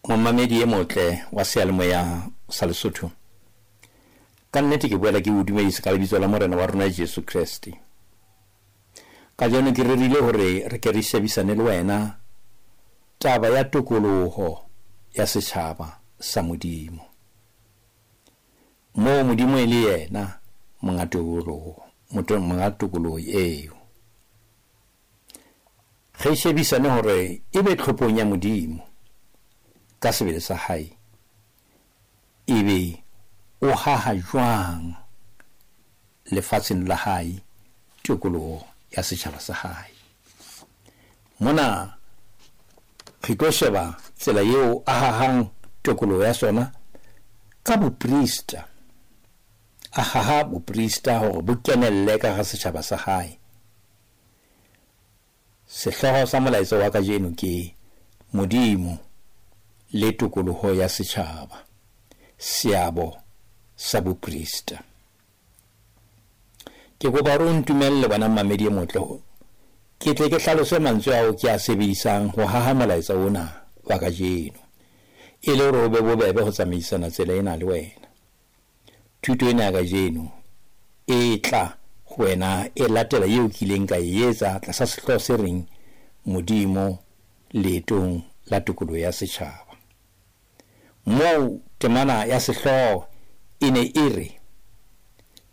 Momamedi e motle wa seyalemoya sa Lesotho, ka nnete ke boela ke o dumedisa ka lebitso la Morena wa rona Jesu Kreste. Kajeno ke rerile hore re ke re shebisane le wena taba ya tokoloho ya setjhaba sa Modimo. Moo Modimo e le yena monga tokoloho, monga tokoloho eo. Re shebisane hore ebe tlhophong ya Modimo ka sebele sa hae, ebe o haha jwang lefatsheng la hae tokoloho ya setjhaba sa hae. Mona re tlo sheba tsela eo a hahang tokoloho ya sona ka boprista. A haha boprista hore bo kenelle ka hara setjhaba sa hae. Sehlooho sa molaetsa wa kajeno ke Modimo le tokoloho ya setjhaba, seabo sa boprista. Ke kopa hore o ntumelle wena mmamedi e motle, ke tle ke hlalose mantswe ao ke a sebedisang ho haha molaetsa ona wa kajeno, e le hore ho be bobebe ho tsamaisana tsela ena le wena. Thuto ena ya kajeno e tla ho wena e latela eo ke ileng ka e etsa tlasa sehlooho se reng Modimo leetong la tokoloho ya setjhaba. Moo temana ya sehlooho e ne e re,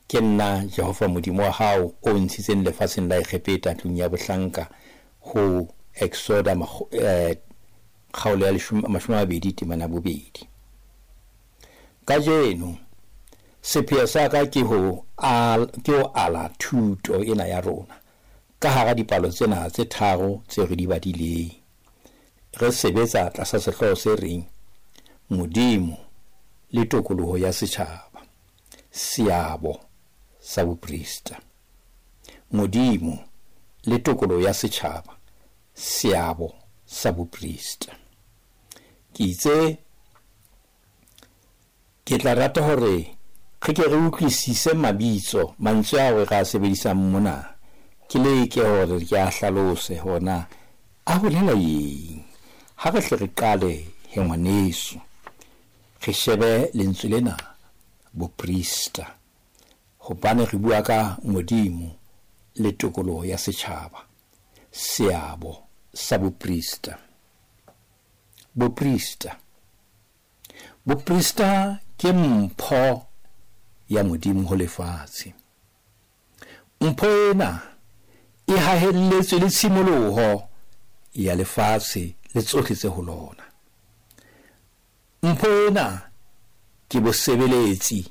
Ke nna Jehova Modimo wa hao o ntshitseng lefatsheng la Egepeta tlung ya bohlanka, ho Exoda kgaolo ya 20 temana 2. Kajeno sepheo sa ka ke ho ala thuto ena ya rona ka hara dipalo tsena tse tharo tse re di badileng. Re sebetsa tlasa sehlooho se reng Modimo le tokoloho ya setjhaba, seabo sa boprista. Modimo le tokoloho ya setjhaba, seabo sa boprista. Ke itse ke tla rata hore re ke re utlwisise mabitso, mantswe ao re a sebedisang mona. Ke leke hore ke a hlalose hona a bolela eng. Ha re hle re qale he ngwaneso, re shebe lentswe lena boprista, hobane re bua ka Modimo le tokoloho ya setjhaba, seabo sa boprista. Boprista. Boprista ke mpho ya Modimo ho lefatshe. Mpho ena e hahelletswe le tshimoloho ya lefatshe le tsohle tse ho lona. Mpho ena ke bosebeletsi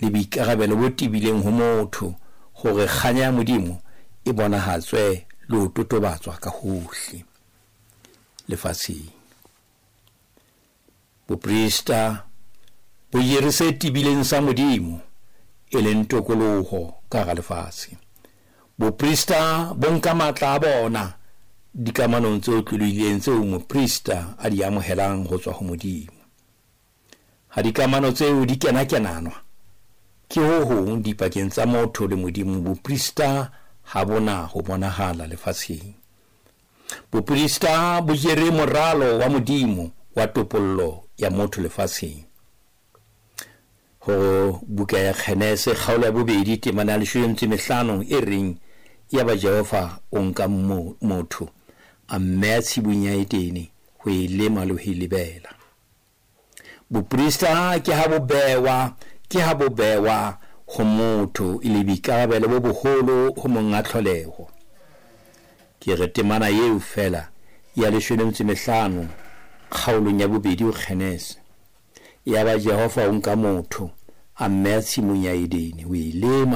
le boikarabelo bo tebileng ho motho hore kganya ya Modimo e bonahatswe le ho totobatswa ka hohle lefatsheng. Boprista bo jere se tebileng sa Modimo e leng tokoloho ka hara lefatshe. Boprista bo nka matla a bona dikamanong tse otlolohileng tseo moprista a di amohelang ho tswa ho Modimo. Ha dikamano tseo di kena-kenanwa ke ho hong dipakeng tsa motho le Modimo, boprista ha bona ho bonahala lefatsheng. Boprista bo jere moralo wa Modimo wa topollo ya motho lefatsheng. Ho buka ya Genese kgaolo ya 2 temana ya 15 e reng, yaba Jehova o nka motho a mmeya tshimong ya Edene ho e lema le ho e lebela. Boprista ke ha bo bewa ho motho e le boikarabelo bo boholo ho monga tlholeho. Ke re temana eo fela ya 15 kgaolong ya 2 ho Genese. Yaba Jehova o nka motho a mmeya tshimong ya Edene ho e lema.